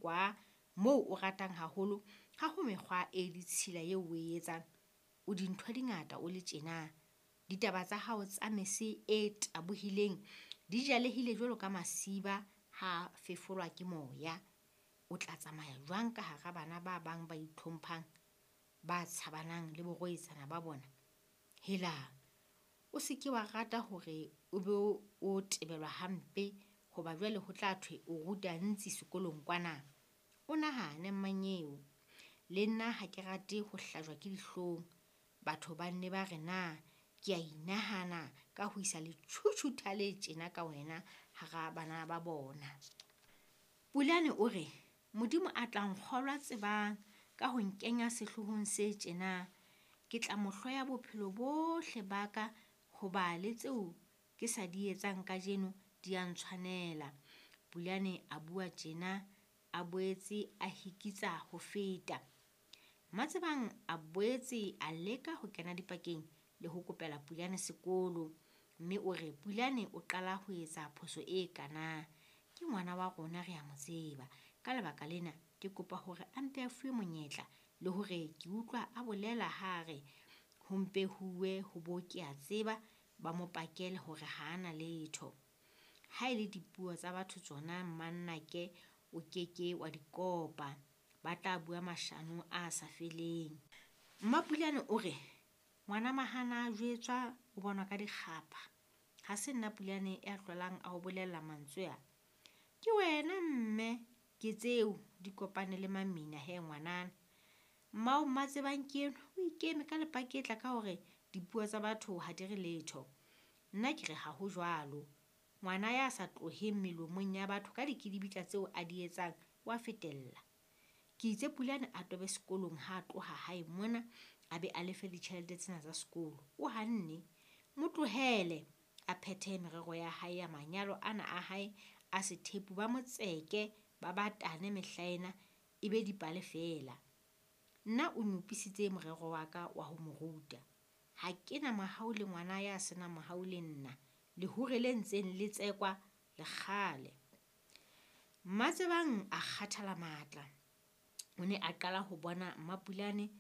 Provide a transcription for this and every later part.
kwa moo o ratang haholo, ha ho mekgwa e ditshila eo o e etsang. O dintho di ngata o le tjena. Ditaba tsa hao tsa mese e tabohileng di jalehile jwalo ka masiba ha fefolwa ke moya. O tla tsamaya jwang ka hara bana ba bang ba itlhomphang, ba tshabanang le borwetsana ba bona? Hela, o se ke wa rata hore o be o tebelwa hampe hoba jwale ho tla thwe o ruta ntsi sekolong kwana. O nahane mmanyeo. Le nna ha ke rate ho hlajwa ke dihlong. Batho ba nne ba re na ke a inahana ka ho isa letjhutjhutha le tjena ka wena hara bana ba bona. Pulane o re, Modimo a tla nkgolwa tsebang ka ho nkenya sehlohong se tjena. Ke tla mo hloya bophelo bohle ba ka hoba le tseo ke sa di etsang kajeno di a ntshwanela. Pulane a bua tjena a boetse a hikitsa ho feta. Mmatsebang a boetse a leka ho kena dipakeng le ho kopela Pulane sekolo, mme o re Pulane o qala ho etsa phoso e kana. Ke ngwana wa rona re a mo tseba. Ka lebaka lena ke kopa hore a mpe a fuwe monyetla le hore ke utlwa a bolela ha re ho mpe huwe ho bo ke a tseba ba mo pakele hore ha ana letho. Ha e le dipuo tsa batho tsona mmannake o keke wa di kopa. Ba tla bua mashano a sa feleng. Mmapulane o re ngwana mahana a jwetswa o bonwa ka dikgapha. Ha se nna Pulane ya hlolang a o bolella mantswe a. Ke wena mme ke tseo di kopane le mamina he ngwanana. Mmao Mmatsebang ke enwa o ikeme ka lepaketla ka hore dipuo tsa batho ha di re letho. Nna ke re ha ho jwalo. Ngwana ya sa tloheng melomong ya batho ka dikidibitla tseo a di etsang wa fetella. Ke itse Pulane a tobe sekolong ha a tloha hae mona a be a lefe ditjhelete tsena tsa sekolo. O hanne. Mo tlohele a phethe merero ya hae ya manyalo ana a hae a sethepu ba motseke ba batane mehlaena e be dipale feela. Nna o nyopisitse morero wa ka wa ho mo ruta. Ha ke na mohau le ngwana ya senang mohau le nna. Lehure le ntseng le tsekwa le kgale. Mmatsebang a kgathala matla. O ne a qala ho bona Mmapulane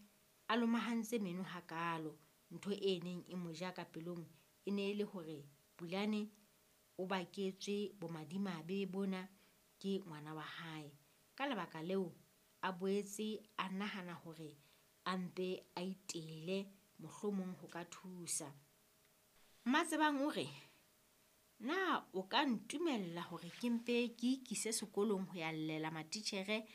a lomahantse meno hakalo. Ntho e neng e mo ja ka pelong e ne e le hore Pulane o baketswe bomadimabe bona ke ngwana wa hae. Ka lebaka leo a boetse a nahana hore a mpe a itele mohlomong ho ka thusa. Mmatsebang o re, na o ka ntumella hore ke mpe ke ikise sekolong ho ya llela matitjhere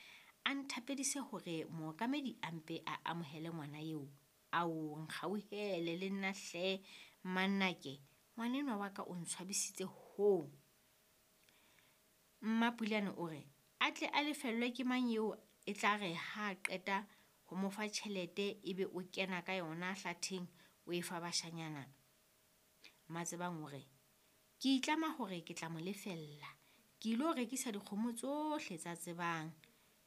a nthapedise hore mookamedi a mpe a amohele ngwana eo? Ao nkgauhele le nna hle mmannake, ngwanenwa wa ka o ntshwabisitse hoo. Mmapulane o re a tle a lefellwe ke mang eo e tla re ha a qeta ho mo fa tjhelete ebe o kena ka yona hlatheng o e fa bashanyana. Mmatsebang o re ke itlama hore ke tla mo lefella. Ke ilo rekisa dikgomo tsohle tsa Tsebang.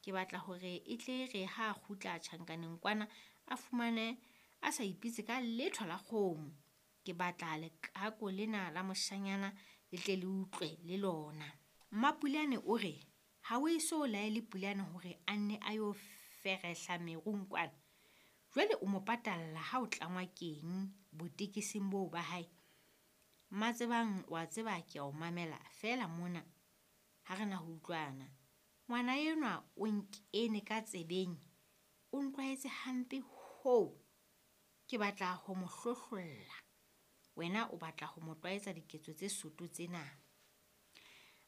Ke batla hore e tle re ha a kgutla tjhankaneng kwana a fumane a sa ipitse ka letho la kgomo. Ke batla lekako lena la moshanyana le tle le utlwe le lona. Mmapulane o re ha o eso laele Pulane hore a nne a yo ferehla merung kwana. Jwale o mo patalla ha o tlangwa keng botekesing boo ba hae. Mmatsebang wa tseba ke a o mamela feela mona ha re na ho utlwana. Ngwana enwa o nkene ka tsebeng, o ntlwaetse hampe hoo. Ke batla ho mo hlohlolla. Wena o batla ho mo tlwaetsa diketso tse soto tsena.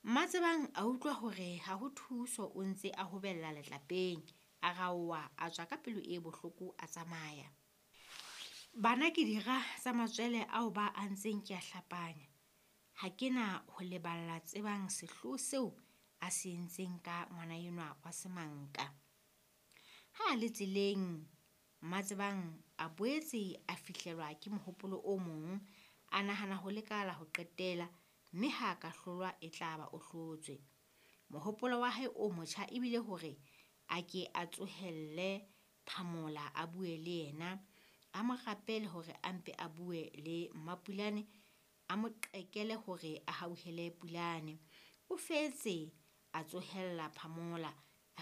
Mmatsebang a utlwa hore ha ho thuso o ntse a hobella letlapeng. A raoha a tswa ka pelo e bohloko a tsamaya. Bana ke dira tsa matswele ao ba a ntseng ke a hlapanya. Ha ke na ho leballa Tsebang sehloho seo a se entseng ka ngwana enwa wa semanka. Ha a le tseleng Mmatsebang a boetse a fihlelwa ke mohopolo o mong, a nahana ho leka la ho qetela mme ha a ka hlolwa e tla ba o hlotswe. Mohopolo wa hae o motjha ebile hore a ke a tsohelle Phamola a bue le yena, a mo rapele hore a mpe a bue le Mmapulane, a mo qekele hore a hauhele Pulane. O fetse a tsohella Phamola